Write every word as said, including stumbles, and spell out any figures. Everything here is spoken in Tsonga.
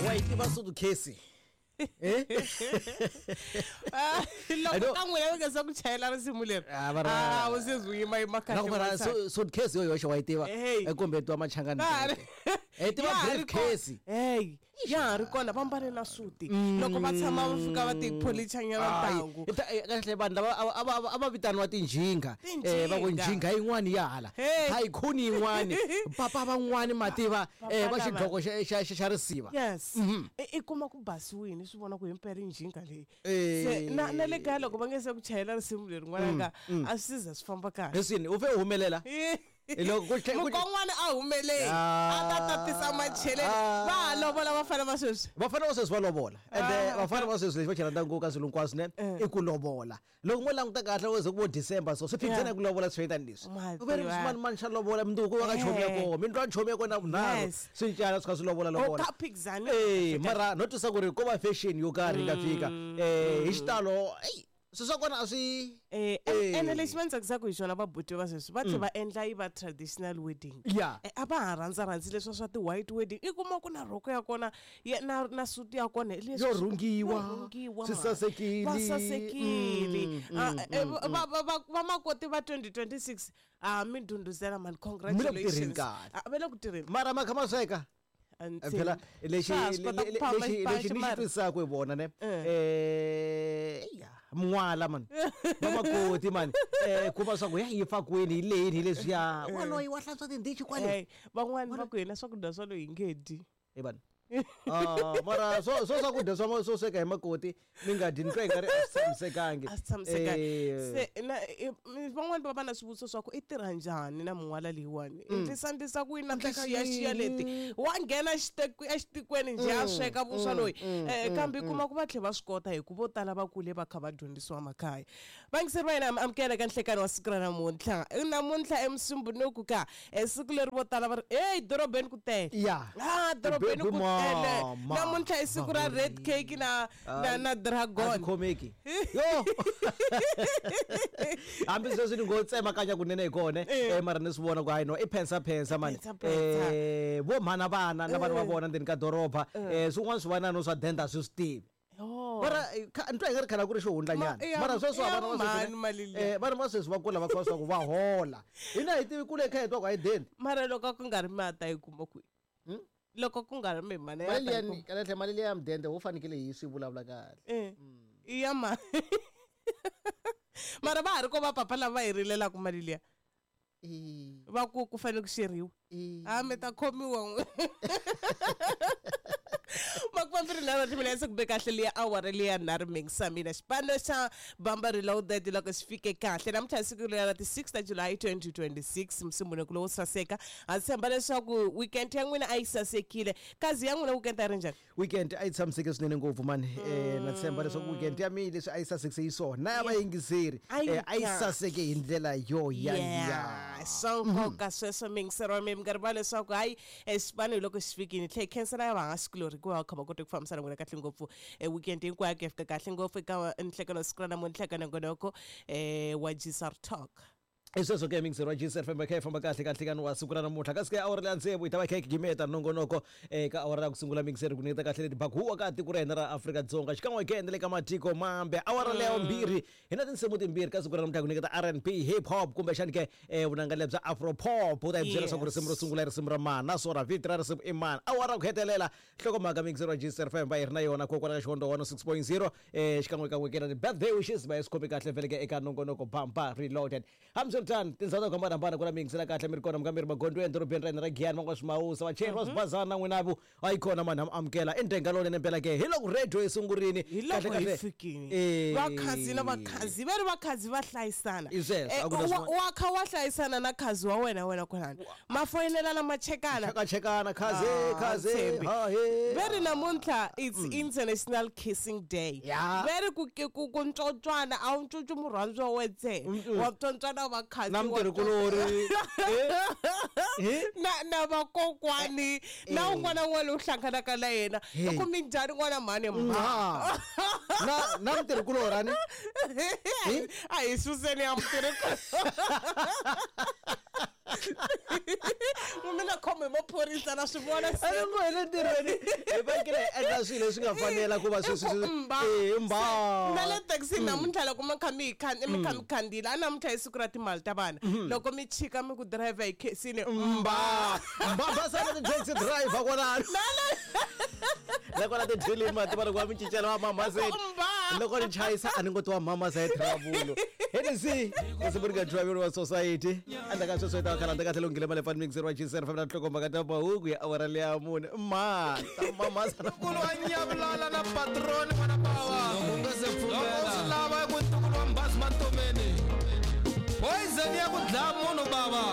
Wa yi tiva sutukesi? Eh? Ah, loko ka n'wina mi nga se ku chayela risimu leri, Ah, va ra- ah, u se zi yima yima kahle Na ku mara matsana. su- suitcase yo yoxe wa yi tiva? Hey. Eh, kumbe tiwa machangani? Ya ha ri- Eh, tiva ya ha ri briefcase. kona. Hey, ya ha ri kona, va mbale na suti loko va tshama va fika va tipholichanyana ntangu. Kahle, vanhu lava a- a va- a va vitaniwa tinjhinga. Tinjhinga. Eh, va ku njhinga yin'wani ya hala, Hey. tycoon yin'wani, papa van'wani mativa, eh, va Papa lava. xidloko xa- xa xa- xa risiva. Yes, i i kuma ku basiwini, swi vona ku himpela i njhinga leyi. Eh. Se na na le kaya loko va nge se ku chayela risimu leri, n'wananga, a swi za swi famba kahle. Leswini u fe u humelela. Hi loko ku tlhe- ku- Mukon'wana a humeleli Ah. a ta tatisa macheleni. Ah. Va ha lovola vafana va sweswi. Vafana va sweswi va lovola, ende Ah. vafana va sweswi lexi va xi rhandzaka ngopfu ka swilo hinkwaswo ne Eh. i ku lovola. Loko mo languta kahle, wo ze ku vo December, so swi phikizana Yeah. ku lovola swi tani leswi. Ma U ve ri tiva. swimanimani xa lovola, mundzuku wa ka chomi ya Eh. kona, mi ndlwa chomi ya kona vunharhu, Yes. swi cana swi kha swi lovola lovola. Ka phikizani. Eh, mara no twisa ku ri ko va fashion yo karhi yi nga fika, eh hi xitalo, eyi, swilo swa kona a swi Eh, Eh. ene lexi va ni tsakisaka hi xona, vabuti va sweswi va tlhe va endla yi va traditional wedding. Yeah. Eh, a va ha rhandza rhandzi leswiya swa ti-white wedding. I kuma ku na rhoko ya kona ya- na na suti ya kona hi leswi Yo swi- rhungiwa, yo rhungiwa, swi man. sasekile. Va sasekile. Mm, Ah, mm, eh, va- va- va- vamakoti va twenty twenty-six, a mi ndhundhuzela mani, congratulations. Tirheni kahle. Ah, va le ku tirheni. Mara ma kha ma sweka. A ni Eh, phela tshembi. lexi Swa ha swi kota ku le- phama lexi xipachi lexi ni xi mara. twisisaka hi vona ne, Eh. eh ya mun'wala mani, vamakoti mani, eh kuma swa ku ya yi fa kwini, hi leni, hi leswiya, waloyi wa hlantswa tindichi kwale. Hey, van'wani va ku hina swakudya swa loyi hi nge dyi. Hi vanhu. Ah, mara swo swo swakudya swa swo sweka hi makoti mi nga dyi, ni twa hi nga ri a swi tshamisekangi. A swi tshamisekanga. Eh, Se na i- mi- van'wani va va na swivutiso swa ku i tirha njhani na min'wala leyiwani, i ndlisa ndlisa ku yini na tixiyaxiya leti, wa nghena xiteku- exitikweni njhe a sweka vuswa loyi. um kambe i kuma ku va tlhe va swi kota, hi ku vo tala va kule va kha va dyondzisiwa makaya. Vayingiseri va hina, mi amukela ka nhlekani wa siku ra namuntlha. Namuntlha emusumbunuku ka eh, siku leri vo tala va ri eyi dorobeni ku tele. Ya. Ah, dorobeni ku Baby tele. Mama. Namuntlha i siku ra red cake na na na A dragon. swi khomeki yo, hambi sweswi ni ngo tsemakanya kunene hi kona, eh mara ni swi vona ku hayi no, i phensa phensa mani. Phensa, phensa. eh vo mhana vana na vana va vona ndzeni ka doroba, eh swin'wana swi vana no swa denda swi swi tivi. Oh. Mara eh, kha- ni twa hi nga ri khale a ku ri xihundlanyana. Ma- ya- Mara sweswi ya vana va mhani sweswi mali liya. eh vana va sweswi va kula va kha swa ku va hola, hina hi tivi kule kha hi twa ku a hi dendi. Mara loko a ku nga ri mata yi kuma kwihi? Loko ku nga ri mimana ya Mali ta yi liya kuma- kahle, mali liya ya mudende wo fanekele hi swi vulavula kahle. Eh, i ya ma mara va ha ri ko va papa lava va hi rilelaka mali liya, Eh, va ku ku fanele ku xeriwa. eh. A mi ta khomiwa n'we. Makumambirhi nharhu timinetse ku be kahle liya awara liya nharhu mingisa mina xipano xa Bamba Reloaded loko xi fike kahle namuntlha hi siku leri ra ti-six ta July twenty twenty-six, musumbunuku lowo saseka. Ha tshemba leswaku weekend ya n'wina a yi sasekile. Kazi ya n'wina weekend a ri njhani? Weekend a yi tshamiseke swinene ngopfu mani. eh na tshemba leswaku weekend ya mina leswi a yi sasekise yi swona na ya vayingiseri, A yi eh, a yi kahle. saseke hi ndlela yo ya Yeah, ya swa nkoka sweswo, mingisero wa mina, mi nga rivali leswaku hayi, eh, xipano hi loko xi fikile tlhe hi khensela ya vahaskulori hikuva va kha va kota ku fambisana n'wina kahle ngopfu e weekend hinkwayo ku ya fika kahle ngopfu eka nhlekelo siku ra namuntlha ka nongonoko um wa G S R Talk. I sweswo ke, mingiseri wa G S F M, kha yi famba kahle ka nhlekani wa siku ra namuntlha. Kasi ke awara leya tsevu hi ta va kha hi gimeta nongonoko. Eka awara ya ku sungula, mingiseri, ku nyiketa kahle leti bakuwa ka tiko ra hina ra Afrika-Dzonga xikan'we ke na le ka matiko mambe. Awara leya vumbirhi hi na tinsimu timbirhi ka siku ra namuntlha, ku nyiketa R and B, hip hop, kumbexani ke eh, vunanga lebya afro pop. U ta hi byela leswaku risimu ro sungula i risimu ra mani, naswona vito ra risimu i mani. Awara ku hetelela, nhlokomhaka, mingiseri wa G S F M, va hi ri na yona kokwala ka Xikondo one oh six point zero, eh xikan'wekan'we ke na ti-birthday wishes va hi swi khomi kahle veleke eka nongonoko Bamba Reloaded. Hambiswiritano, tindhawu ta ku hambanahambana ku na mingisela kahle mi ri kona, mi nga mi ri magondweni, dorobeni ra hina ra Giyani, van'wana swimawusa, vachayeri va swibazana na n'winavu a yi kona mani, ha amukela i ndenga lowunene mpela ke hi loko radio yi sungurini. Hi loko Kahle, hi kahle. fikini, Eh. vakhazi na vakhazi va ri vakhazi va hlayisana. I sweswo, Eh, a ku na wa- swin'wana. wa kha wa hlayisana na khazi wa wena, wena kwalano ma foyinelana, ma chekana. Chekachekana khaze. Ah, Khaze. Thembi. Ha he. Ve ri namuntlha it's International Kissing Day. Ya. Ve ri ku ku ku ntswontswana a wu ntswontswi murhandziwa wa ntsena, wa ntswontswana va mukhazi Na mutirhikulori. Eh? Na na vakokwani na un'wana na un'wana lowu hlanganaka na yena Hey. i ku minjhani n'wana mhani mba Ma. Na na mutirhikulori ani. A hi suseni ya mutirhi mina khome hi maphorisa na swi vona se A ni ngo hi le ntirhweni hi fanekele hi endla swilo leswi nga fanela ku va swi swi swi- Mba. Eh, mba. Na le taxini namuntlha loko mi kha mi hi khan- mi kha mi khandziyile a namuntlha hi siku ra timali ta vana loko mi chika mi ku driver hi khensile Mba. Mba basana ti taxi driver kwalano. Loko la tidyeleni mati va loko va mi cincela va mamaseni. Mba. Loko ni chayisa a ni ngo tiwa mama sa travel. Hennessy, isiburinga driver wa society. Andla ka sweswo hi ta khala kahle lunghile male fan mixer wa G S F na nhlokomhaka ta mahungu ya awara leya mune. Ma, ta mamasa. Ntukulu wa nyavulala na patroni n'wana bawa. Loko u nga se Loko u pfumela swi lava ku ntukulu wa Mbhasi Mantomeni. Poison ya ku dlaya munhu bava.